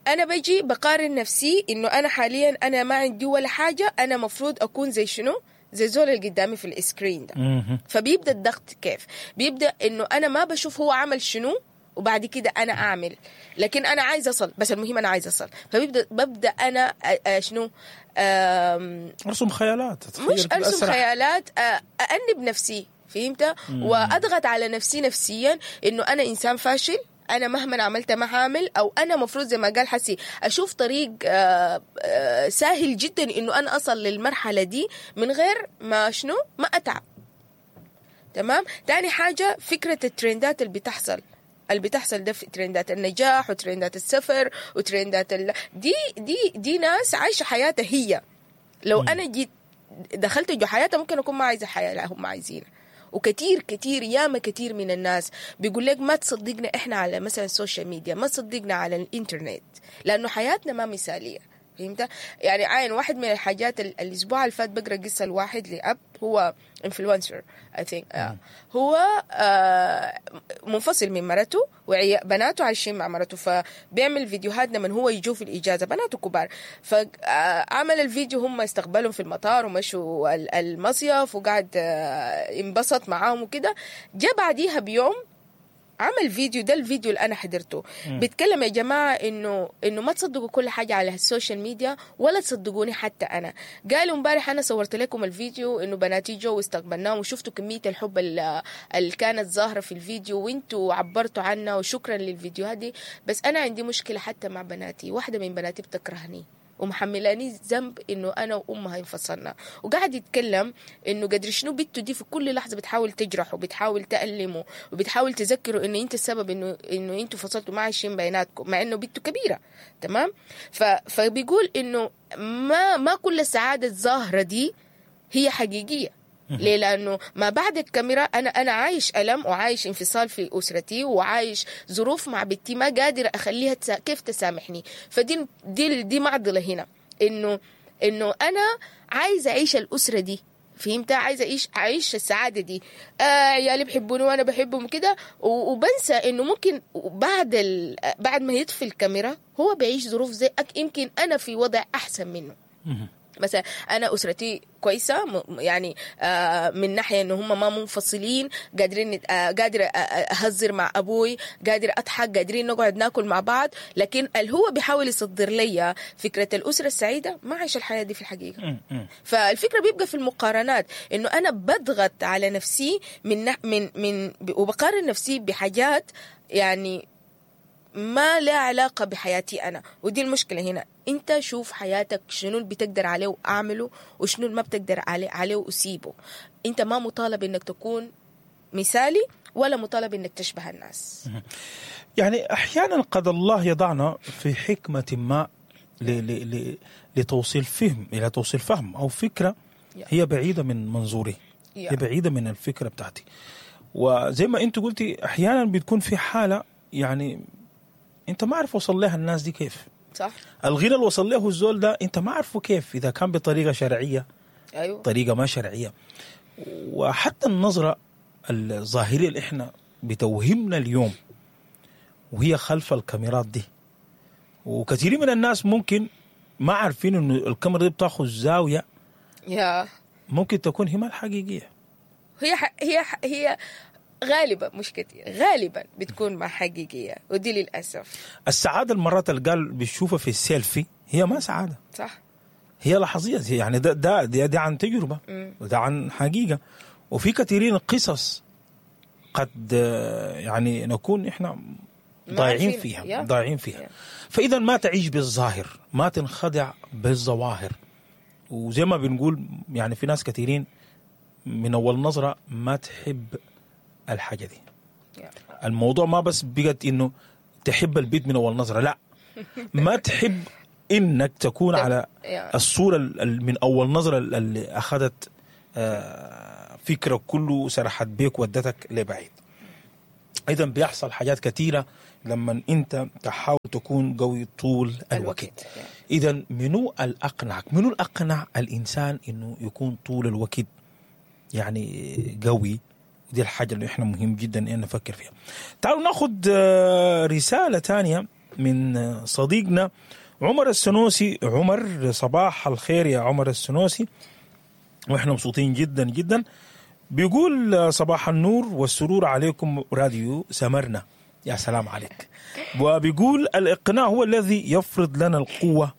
أنا بجي بقارن نفسي إنه أنا حاليا أنا ما عندي ولا حاجة، أنا مفروض أكون زي شنو؟ زي زول اللي قدامي في ال screen ده. فبيبدأ الضغط كيف؟ بيبدأ إنه أنا ما بشوف هو عمل شنو وبعد كده أنا أعمل، لكن أنا عايز أصل، بس المهم أنا عايز أصل. فبيبدأ أنا شنو؟ أرسم خيالات، مش أرسم خيالات، أأنب نفسي، فهمت؟ وأضغط على نفسي نفسيا إنه أنا إنسان فاشل، أنا مهما عملت ما هعمل، أو أنا مفروض زي ما قال حسي أشوف طريق سهل جدا إنه أنا أصل للمرحلة دي من غير ما شنو؟ ما أتعب. تمام؟ تاني حاجة فكرة الترندات اللي بتحصل ده، في ترندات النجاح وترندات السفر وترندات دي دي دي ناس عايشة حياتها هي. لو أنا جيت دخلت جو حياتها ممكن أكون ما عايزة حياة، لا هم عايزينها. وكتير كتير ياما كتير من الناس بيقول لك ما تصدقنا إحنا على مثلا ال social media، ما تصدقنا على الإنترنت، لأنه حياتنا ما مثالية. فهمت؟ يعني عين واحد من الحاجات الأسبوع اللي فات بقرأ قصة الواحد لأب، هو influencer I think، هو منفصل من مرته وبناته عايشين مع مرته، فبيعمل فيديوهات لما هو يجوا في الإجازة، بناته كبار، فعمل الفيديو هم استقبلهم في المطار ومشوا المصيف وقعد انبسط معاهم وكده. جاء بعديها بيوم عمل فيديو، ده الفيديو اللي أنا حضرته، بيتكلم يا جماعة إنه ما تصدقوا كل حاجة على ال social media ولا تصدقوني حتى أنا. قالوا امبارح أنا صورت لكم الفيديو إنه بناتي جو واستقبلناهم وشفتوا كمية الحب اللي كانت ظاهرة في الفيديو وإنتوا عبرتوا عنا وشكرا للفيديوهات دي، بس أنا عندي مشكلة حتى مع بناتي، واحدة من بناتي بتكرهني ومحملاني ذنب انه انا وامها انفصلنا. وقاعد يتكلم انه قدر شنو بنته دي في كل لحظة بتحاول تجرحه وبتحاول تألمه وبتحاول تذكره انه انت السبب انه انتوا فصلتوا ما عايشين بيناتكم، مع انه بنته كبيرة. تمام؟ فبيقول انه ما كل السعادة الظاهرة دي هي حقيقية. ليه؟ لأنه ما بعد الكاميرا أنا عايش ألم وعايش انفصال في أسرتي وعايش ظروف مع بنتي ما قادر أخليها كيف تسامحني. فدي دي دي معضلة هنا، إنه أنا عايزة أعيش الأسرة دي، فهمت؟ عايزة أعيش السعادة دي، عيالي بيحبوني وأنا بحبهم كده، وبنسى إنه ممكن بعد ما يطفي الكاميرا هو بيعيش ظروف زي يمكن أنا في وضع أحسن منه. مثلا أنا أسرتي كويسة، يعني من ناحية إنه هم ما منفصلين، قادرين، قادرة أهزر مع أبوي، قادرة أضحك، قادرين نقعد ناكل مع بعض، لكن اللي هو بيحاول يصدر لي فكرة الأسرة السعيدة ما عايش الحياة دي في الحقيقة. فالفكرة بيبقى في المقارنات، إنه أنا بضغط على نفسي من من من وبقارن نفسي بحاجات يعني ما لا علاقة بحياتي أنا، ودي المشكلة هنا. أنت شوف حياتك شنو اللي بتقدر عليه وأعمله، وشنو اللي ما بتقدر عليه وأسيبه. أنت ما مطالب إنك تكون مثالي ولا مطالب إنك تشبه الناس. يعني أحيانا قد الله يضعنا في حكمة ما لتوصيل فهم، إلى توصيل فهم أو فكرة هي بعيدة من منظوري، هي بعيدة من الفكرة بتاعتي. وزي ما أنت قلتي أحيانا بتكون في حالة يعني انت ما عارف وصل لها الناس دي كيف. صح. الغنى اللي وصل له الزول ده انت ما عارفه كيف، اذا كان بطريقة شرعية، ايوه، طريقه ما شرعية. وحتى النظرة الظاهرية اللي احنا بتوهمنا اليوم وهي خلف الكاميرات دي، وكثير من الناس ممكن ما عارفين انه الكاميرا دي بتاخذ زاوية ممكن تكون هي ما الحقيقية. هي غالبا، مش كتير، غالبا بتكون مع حقيقية، ودي للأسف. السعادة المرات اللي قال بيشوفها في السيلفي هي ما سعادة. صح. هي لحظية، يعني ده ده ده, ده عن تجربة، وده عن حقيقة. وفي كثيرين قصص قد يعني نكون إحنا ضايعين فيها، ضايعين فيها. فإذا ما تعيش بالظاهر، ما تنخدع بالظواهر. وزي ما بنقول يعني في ناس كثيرين من أول نظرة ما تحب الحاجة دي. الموضوع ما بس بقت إنه تحب البيت من أول نظرة، لا، ما تحب انك تكون على Yeah. الصورة من اول نظره اللي اخذت فكرك كله، سرحت بيك ودتك لبعيد. اذا بيحصل حاجات كثيرة لما انت تحاول تكون قوي طول الوقت. اذا منو الاقنعك، منو الاقنع الانسان انه يكون طول الوقت يعني قوي؟ دي الحاجة اللي احنا مهم جدا ان نفكر فيها. تعالوا ناخذ رسالة ثانية من صديقنا عمر السنوسي. عمر، صباح الخير يا عمر السنوسي، واحنا مبسوطين جدا جدا. بيقول صباح النور والسرور عليكم راديو سمرنا. يا سلام عليك. وبيقول الإقناع هو الذي يفرض لنا القوة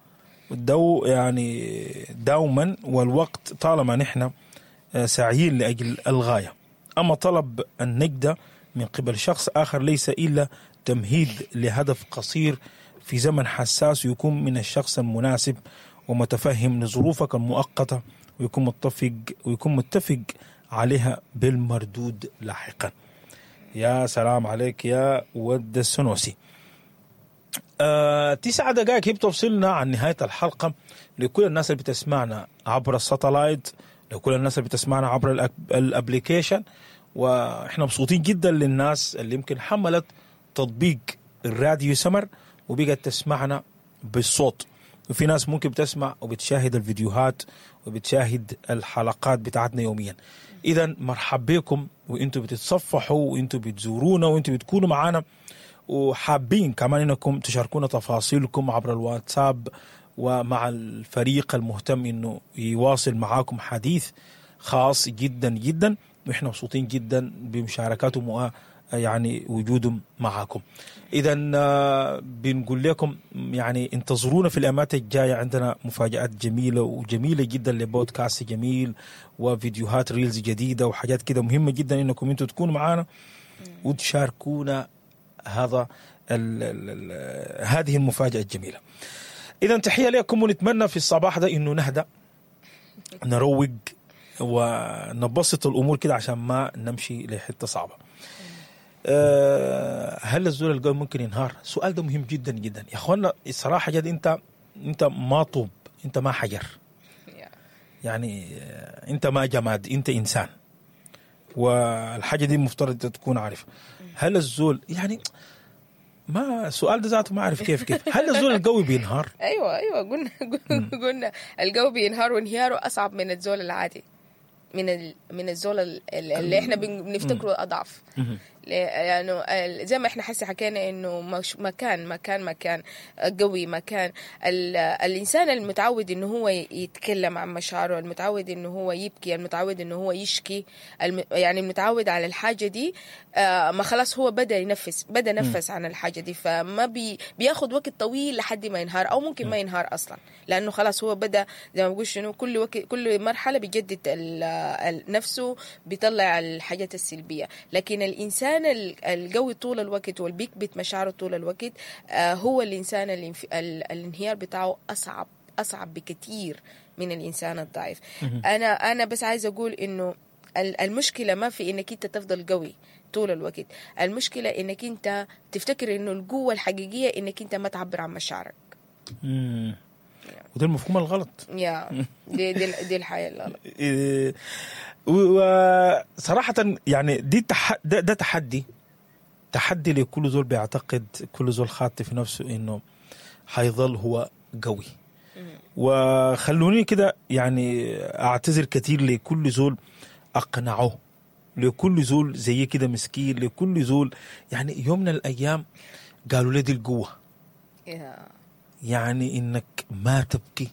دو يعني دوما والوقت طالما نحن ساعيين لأجل الغاية. أما طلب النجدة من قبل شخص آخر ليس إلا تمهيد لهدف قصير في زمن حساس، ويكون من الشخص المناسب ومتفهم لظروفك المؤقتة، ويكون متفق عليها بالمردود لاحقا. يا سلام عليك يا ود السنوسي. 9 دقائق هي بتفصلنا عن نهاية الحلقة. لكل الناس اللي بتسمعنا عبر ال satellite، لكل الناس اللي بتسمعنا عبر ال application، واحنا مبسوطين جدا للناس اللي يمكن حملت تطبيق الراديو سمر وبقت تسمعنا بالصوت، وفي ناس ممكن بتسمع وبتشاهد الفيديوهات وبتشاهد الحلقات بتاعتنا يوميا. اذا مرحب بكم، وانتم بتتصفحوا وانتم بتزورونا وانتم بتكونوا معانا، وحابين كمان انكم تشاركونا تفاصيلكم عبر الواتساب ومع الفريق المهتم انه يواصل معاكم حديث خاص جدا جدا، واحنا مبسوطين جدا بمشاركاتهم يعني وجودهم معاكم. اذا بنقول لكم يعني انتظرونا في الأيامات الجاية، عندنا مفاجآت جميلة وجميلة جدا لبودكاست جميل وفيديوهات reels جديدة وحاجات كده مهمة جدا انكم انتم تكونوا معانا وتشاركونا هذا ال ال ال هذه المفاجأة الجميلة. اذا تحية لكم، ونتمنى في الصباح ده انه نهدأ، نروق ونبسط الامور كده عشان ما نمشي لحته صعبة. هل الزول القوي ممكن ينهار؟ السؤال ده مهم جدا جدا يا اخوانا. الصراحة جد انت ما طوب، انت ما حجر، يعني انت ما جماد، انت انسان، والحاجة دي المفترض تكون عارفه. هل الزول يعني ما السؤال ده ذاته ما اعرف كيف هل الزول القوي بينهار؟ ايوه قلنا القوي بينهار، وانهياره اصعب من الزول العادي، من الزول اللي احنا بنفتكره اضعف. لانه يعني زي ما احنا حسي حكينا انه مكان مكان مكان قوي، مكان الانسان المتعود انه هو يتكلم عن مشاعره، المتعود انه هو يبكي، المتعود انه هو يشكي، يعني المتعود على الحاجة دي، ما خلاص هو بدا ينفس، بدا نفس عن الحاجة دي، فما بياخد وقت طويل لحد ما ينهار، او ممكن ما ينهار اصلا، لانه خلاص هو بدا زي ما بقول شنو، كل وقت كل مرحلة بيجدد نفسه، بيطلع الحاجات السلبية. لكن الانسان القوي طول الوقت والبيكبت مشاعره طول الوقت، هو الإنسان الانهيار بتاعه أصعب بكثير من الإنسان الضعيف. أنا بس عايز أقول إنه المشكلة ما في إنك أنت تفضل قوي طول الوقت، المشكلة إنك أنت تفتكر إنه القوة الحقيقية إنك أنت ما تعبر عن مشاعرك. وده المفهوم الغلط. يا دي الحياة الغلط. وصراحة يعني دي ده تحدي لكل زول بيعتقد، كل زول خاطي في نفسه انه حيظل هو قوي. وخلوني كده يعني اعتذر كثير لكل زول اقنعه، لكل زول زي كده مسكين، لكل زول يعني يوم من الايام قالوا لي دي القوة، يعني انك ما تبكي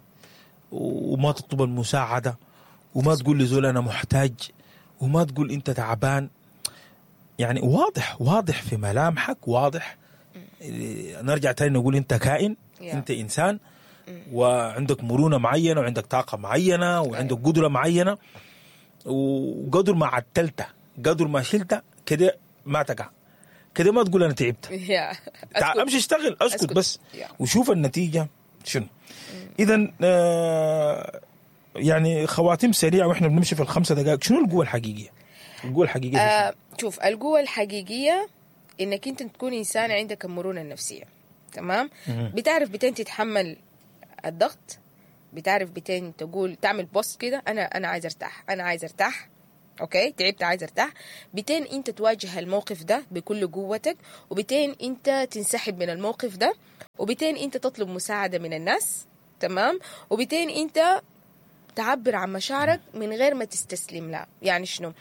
وما تطلب المساعدة وما تقول لزول أنا محتاج وما تقول أنت تعبان. يعني واضح في ملامحك، واضح. نرجع تاني نقول أنت كائن، أنت إنسان، وعندك مرونة معينة، وعندك طاقة معينة، وعندك قدرة معينة، وقدر ما عتلته قدر ما شلته كده ما تقع كده، ما تقول أنا تعبت، أمشي اشتغل، أسكت بس وشوف النتيجة شنو. إذن يعني خواتيم سريعة وإحنا بنمشي في ال5 دقائق. شنو القوة الحقيقية؟ القوة الحقيقية شوف، القوة الحقيقية إنك أنت تكون إنسان عندك المرونة النفسية، تمام؟ بتعرف بتين تتحمل الضغط، بتعرف بتين تقول تعمل pause كده، انا عايز ارتاح، انا عايز ارتاح، okay تعبت عايز ارتاح. بتين انت تواجه الموقف ده بكل قوتك، وبتين انت تنسحب من الموقف ده، وبتين انت تطلب مساعدة من الناس، تمام، وبتين انت تعبر عن مشاعرك من غير ما تستسلم لها. يعني شنو؟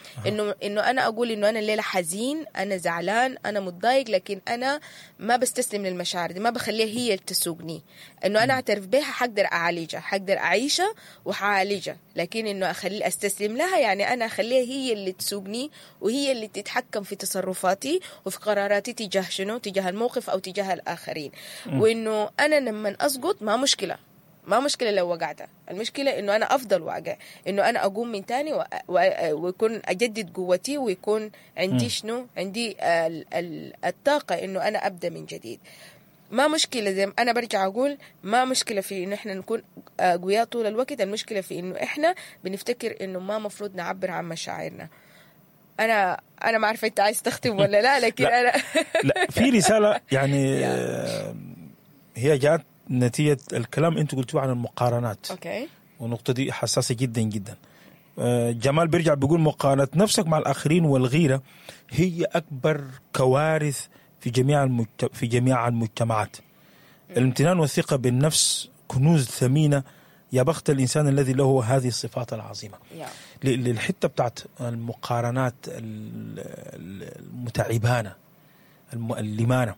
انه انا اقول انه انا الليلة حزين، انا زعلان، انا متضايق، لكن انا ما بستسلم للمشاعر دي، ما بخليها هي اللي تسوقني. انه انا اعترف بها، حقدر اعالجها، حقدر اعيشها وحعالجها، لكن انه اخلي استسلم لها يعني انا اخليها هي اللي تسوقني وهي اللي تتحكم في تصرفاتي وفي قراراتي تجاه شنو؟ تجاه الموقف او تجاه الاخرين. وانه انا لما اسقط ما مشكلة، ما مشكلة لو وقعت، المشكلة إنه أنا أفضل واقع، إنه أنا أقوم من تاني ويكون أجدد قوتي، ويكون عندي شنو؟ عندي الطاقة إنه أنا أبدأ من جديد. ما مشكلة، زي ما أنا برجع أقول، ما مشكلة في إنه إحنا نكون قوية طول الوقت، المشكلة في إنه إحنا بنفتكر إنه ما مفروض نعبر عن مشاعرنا. أنا ما عارفة أنت عايز تختم ولا لا، لكن لا. أنا لا، في رسالة يعني هي جات نتيجة الكلام انتوا قلتوه عن المقارنات. okay، والنقطة دي حساسة جدا جدا. جمال بيرجع بيقول مقارنة نفسك مع الآخرين والغيرة هي أكبر كوارث في جميع المجتمعات. الامتنان والثقة بالنفس كنوز ثمينة، يا بخت الإنسان الذي له هذه الصفات العظيمة. للحتة بتاعت المقارنات المتعبانة المؤلمانة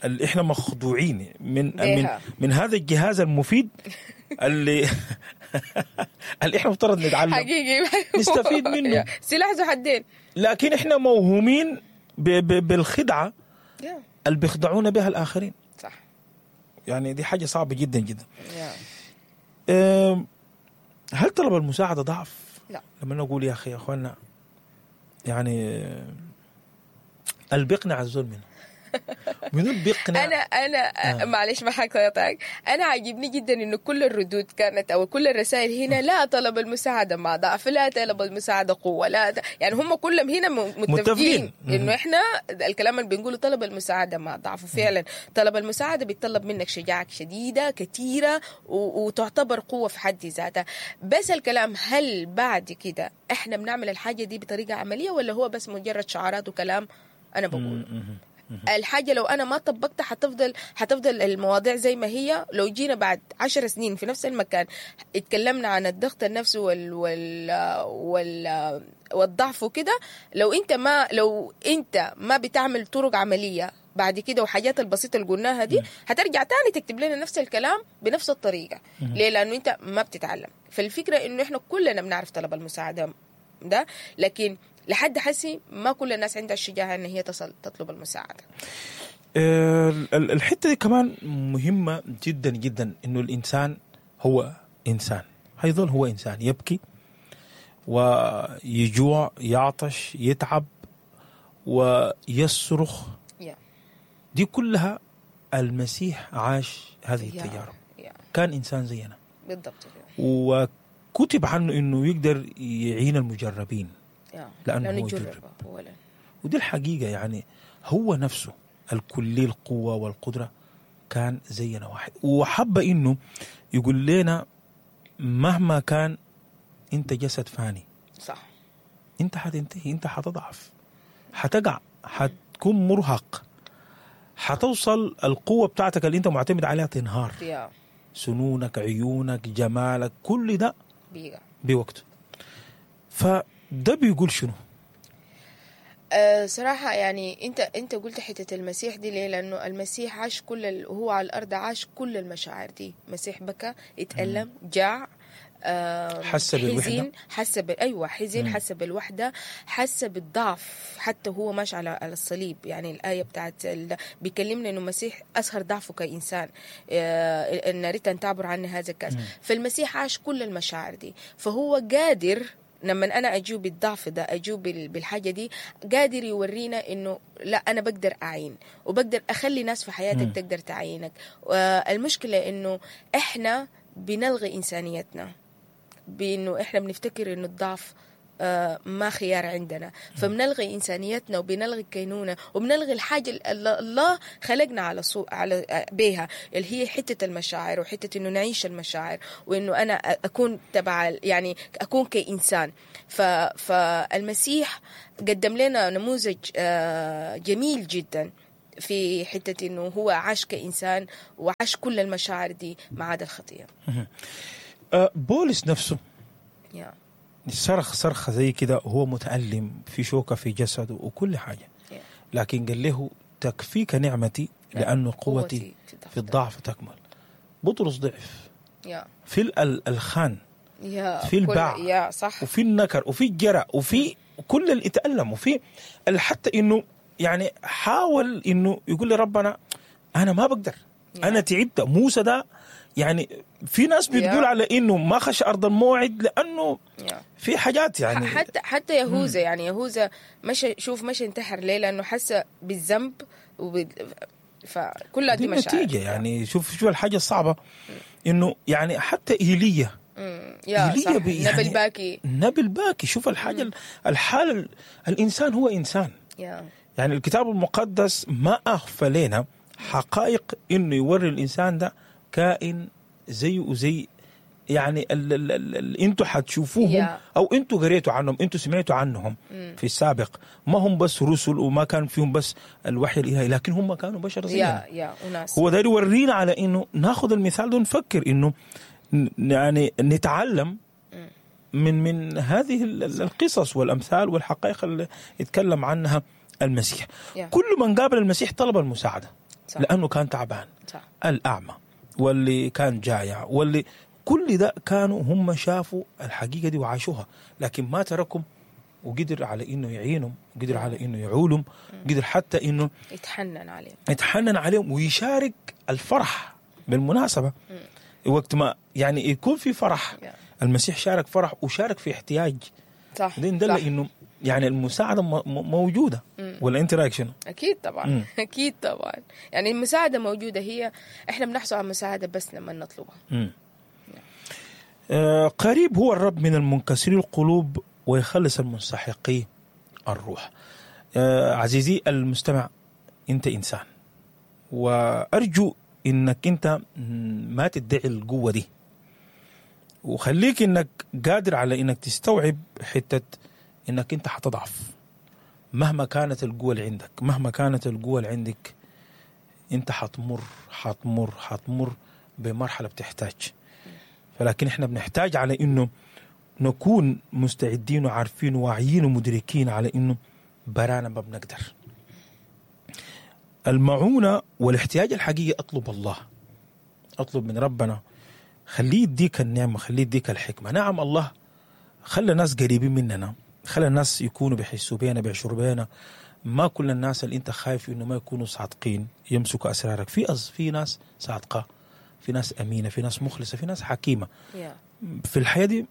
اللي احنا مخدوعين من من من هذا الجهاز المفيد اللي احنا مفترض نتعلم حقيقي نستفيد منه، سلاح ذو حدين، لكن احنا موهومين بالخدعة اللي بيخدعونا بها الآخرين. صح، يعني دي حاجة صعبة جدا جدا. هل طلب المساعدة ضعف؟ لا. لما نقول يا أخي يا أخوانا، يعني اللي بيقنع الزول منه منو بيقنع؟ انا معلش ما حقطعك، انا عاجبني جدا انه كل الردود كانت او كل الرسائل هنا لا طلب المساعدة مع ضعف، لا طلب المساعدة قوة، لا يعني هم كلهم هنا متفقين انه احنا الكلام اللي بنقوله طلب المساعدة مع ضعف. وفعلا طلب المساعدة بيتطلب منك شجاعة شديدة كثيرة وتعتبر قوة في حد ذاتها. بس الكلام هل بعد كده احنا بنعمل الحاجة دي بطريقة عملية ولا هو بس مجرد شعارات وكلام؟ انا بقول الحاجة لو أنا ما طبقتها حتفضل المواضيع زي ما هي. لو جينا بعد 10 سنين في نفس المكان اتكلمنا عن الضغط النفسي والضعف وكده، لو أنت ما بتعمل طرق عملية بعد كده وحاجات البسيطة اللي قلناها دي، هترجع تاني تكتب لنا نفس الكلام بنفس الطريقة. ليه؟ لأنه أنت ما بتتعلم. فالفكرة إنه إحنا كلنا بنعرف طلب المساعدة ده، لكن لحد حسي ما كل الناس عندها الشجاعة أن هي تصل تطلب المساعدة. الحتة دي كمان مهمة جدا جدا، إنه الإنسان هو إنسان، هيظل هو إنسان، يبكي ويجوع، يعطش، يتعب، ويصرخ. دي كلها المسيح عاش هذه التجارب. كان إنسان زينا بالضبط، وكتب عنه إنه يقدر يعين المجربين لأنه هو جرب. ودي الحقيقة، يعني هو نفسه الكلي القوة والقدرة كان زينا واحد، وحب إنه يقول لنا مهما كان أنت جسد فاني، صح، أنت حتنتهي، أنت حتضعف، حتقع، حتكون مرهق، حتوصل القوة بتاعتك اللي أنت معتمد عليها تنهار. سنونك، عيونك، جمالك، كل ده بوقته. فده بيقول شنو؟ صراحة يعني انت قلت حتة المسيح دي ليه؟ لأنه المسيح عاش كل هو على الأرض عاش كل المشاعر دي. مسيح بكى، اتألم، جاع، حس بالوحدة، حس ايوه حزن، حس بالوحدة، حس بالضعف حتى هو ماشي على الصليب. يعني الايه بتاعت بيكلمنا انه المسيح اظهر ضعفه كانسان، ان ريت ان تعبر عني هذا الكاس. فالمسيح عاش كل المشاعر دي، فهو قادر لما انا اجيب بالضعف ده، اجيب بالحاجة دي، قادر يورينا انه لا، انا بقدر اعين وبقدر اخلي ناس في حياتك تقدر تعينك. المشكلة انه احنا بنلغي انسانيتنا، بانه احنا بنفتكر انه الضعف ما خيار عندنا. فبنلغي انسانيتنا وبنلغي الكينونه وبنلغي الحاجة اللي الله خلقنا على صو على بيها، اللي هي حتة المشاعر وحتة انه نعيش المشاعر وانه انا اكون تبع، يعني اكون كانسان. فالمسيح قدم لنا نموذج جميل جدا في حتة انه هو عاش كانسان وعاش كل المشاعر دي ما عدا الخطية. بولس نفسه صرخ صرخة زي كده وهو متألم في شوكة في جسده وكل حاجة، لكن قال له تكفيك نعمتي لأن قوتي في الضعف تكمل. بطرس ضعف في الخان، في الباع، صح، وفي النكر وفي الجرأ وفي كل اللي اتألم، وفي حتى انه يعني حاول انه يقول لربنا انا ما بقدر، انا تعبت. موسى ده يعني في ناس بتقول على انه ما خش ارض الموعد لانه في حاجات يعني حتى يهوذا، يعني يهوذا مشى، شوف مشى انتحر ليه؟ لانه حس بالذنب فكلها دي مشاعر نتيجة. يعني شوف الحاجة الصعبة انه يعني حتى ايليا، ايليا يعني نبي الباكي، نبي الباكي. شوف الحاجة الحالة، الانسان هو انسان. يعني الكتاب المقدس ما اخفى لنا حقائق انه يوري الانسان ده كائن زي وزي يعني انتوا حتشوفوهم او انتوا قريتوا عنهم، انتوا سمعتوا عنهم في السابق. ما هم بس رسل وما كان فيهم بس الوحي الالهي، لكن هم كانوا بشر زينا. هو ده يورينا على انه ناخذ المثال ده ونفكر انه يعني نتعلم من هذه القصص والامثال والحقائق اللي يتكلم عنها المسيح. كل من قابل المسيح طلب المساعدة، صح، لانه كان تعبان، صح، الاعمى واللي كان جايع واللي كل ده كانوا هم شافوا الحقيقة دي وعاشوها، لكن ما تركهم وقدر على إنه يعينهم، قدر على إنه يعولهم، قدر حتى إنه يتحنن عليهم ويشارك الفرح. بالمناسبة وقت ما يعني يكون في فرح، المسيح شارك فرح وشارك في احتياج. صح، دي دل إنه يعني المساعدة موجودة. ولا أنت رأيك شنو؟ أكيد طبعا. أكيد طبعا، يعني المساعدة موجودة، هي إحنا بنحصل على المساعدة بس لما نطلبها. قريب هو الرب من المنكسري القلوب ويخلص المنسحقي الروح. عزيزي المستمع، أنت إنسان، وأرجو إنك أنت ما تدعي القوة دي، وخليك إنك قادر على إنك تستوعب حتة إنك أنت حتضعف مهما كانت القوة اللي عندك، مهما كانت القوة اللي عندك أنت حتمر حتمر حتمر بمرحلة بتحتاج. فلكن إحنا بنحتاج على إنه نكون مستعدين وعارفين وواعيين ومدركين على إنه برانا ما بنقدر. المعونة والاحتياج الحقيقي أطلب الله، أطلب من ربنا، خليه يديك النعمة، خليه يديك الحكمة. نعم الله خلى ناس قريبين مننا، خلى الناس يكونوا بيحسوا بينا، بيعشروا بينا. ما كل الناس اللي انت خايف انه ما يكونوا صادقين يمسكوا اسرارك. في ناس صادقة، في ناس امينه، في ناس مخلصة، في ناس حكيمة. في الحياة دي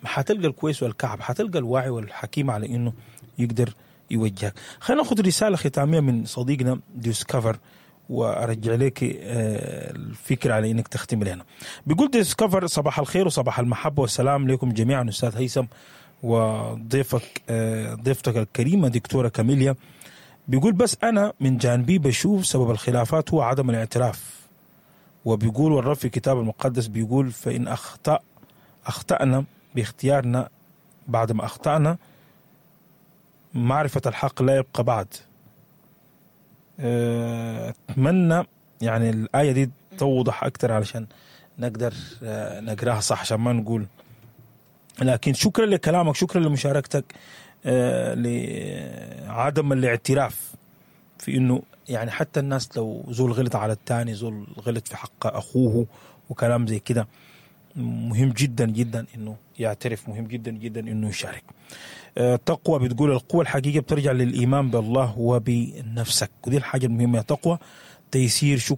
حتلقى الكويس والكعب، حتلقى الواعي والحكيم على انه يقدر يوجهك. خلينا ناخذ رسالة ختامية من صديقنا ديسكفر وارجع لك الفكرة على انك تختم لنا. بيقول ديسكفر: صباح الخير وصباح المحبة والسلام لكم جميعا استاذ هيثم وضيفك ضيفتك الكريمة دكتورة كاميليا. بيقول بس أنا من جانبي بشوف سبب الخلافات هو عدم الاعتراف، وبيقول والرب في الكتاب المقدس بيقول فإن أخطأنا باختيارنا بعد ما أخطأنا معرفة الحق لا يبقى بعد. أتمنى يعني الآية دي توضح أكثر علشان نقدر نقراها صح، عشان ما نقول. لكن شكرا لكلامك، شكرا لمشاركتك لعدم الاعتراف في انه يعني حتى الناس لو زول غلط على الثاني، زول غلط في حق اخوه وكلام زي كده، مهم جدا جدا انه يعترف، مهم جدا جدا انه يشارك. تقوى بتقول القوة الحقيقية بترجع للإيمان بالله وبنفسك، ودي الحاجة المهمة يا تقوى. تيسير شكرا.